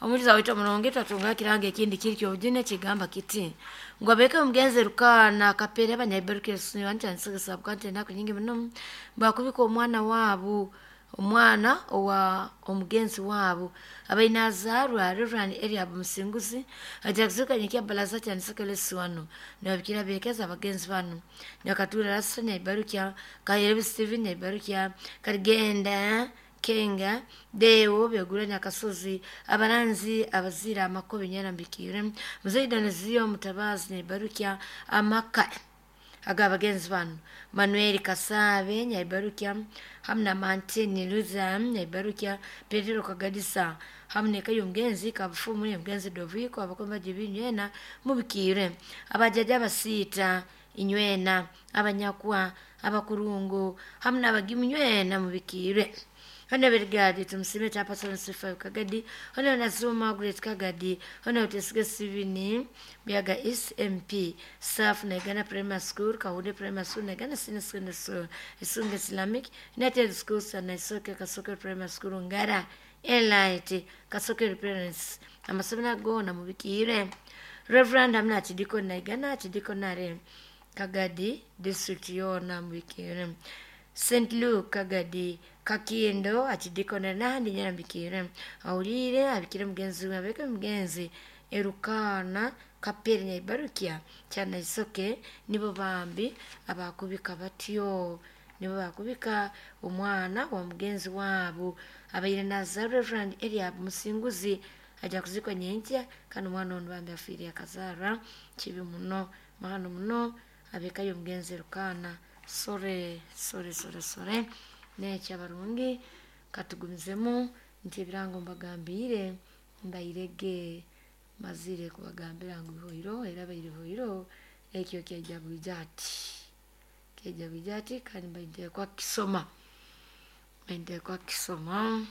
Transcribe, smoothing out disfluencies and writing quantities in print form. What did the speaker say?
Omuliza waitu omurungi twatunga ekirango ekindi kiri kyobujune kigamba kiti ngu abeeke omugenzi Rukana Kapere abanyabibarukire nsigisa bukante enaku nyingi muno bakubika omwana waabu omwana owa omugenzi waabu abaine azaarwa Reverend Eliab Musinguzi aja kuzuka nyikia balaza kyanisokele wano nibabikira beekeza abagenzi banu nyakatura Rasta Nyaibarukya Kayerebi Steven Nyaibarukya Karigenda Kenga Deo Begura Nyakasozi abaranzi abazira amakobe nyarambikire Muzeyi Doneziyo Mutabazi Nyaibarukya amaka aga bagenzi banu Manuel Kasabe Nyaibarukya hamu na Mantini Luza Nyaibarukya Petero Kagadisa hamu nekayo omugenzi Kabufumu omugenzi Doviko abakomba jibinywena mubikire abajaja abasiita inywena abanyakwa abakurungu hamu n'abagimu nywena mubikire. Hano berigadi tumusime chapasana sifa kagadi hano nazuma Margaret Kagadi hano tesige sivini byaga SMP Saf na Uganda Primary School Kahunde Primary School na Uganda Senior Secondary School Isunga Islamic United Schools na Isoke Kasoke Primary School Ngara Elite Kasoke Parents amasomero agona mubikire Reverend amna chidiko na Uganda chidiko nare Kagadi district yona mubikire St. Luke Kagadi Kakindo achidikona nandi nyarambikire awulire abikire mugenzi we abeke mugenzi Erukana Kapere Nyaibarukya kyana isoke nibo bambi abakubika batyo nibo bakubika omwana wa mugenzi waabo abaire naza Reverend Eliab Musinguzi aja kuzikwa nyenkya kandi omwana ono bambi afiire akazarwa kibi muno mahano muno abekayo omugenzi Erukana. Sore sore sore sore nekyo abarungi katugumizemu nti ebirango mbagambire mbairege mazire kubagambira ngu bihoiro era baire bihoiro ekyo kyaija bwija ati kyaija bwija ati kandi mbaintekwa kisoma mbaintekwa kisoma.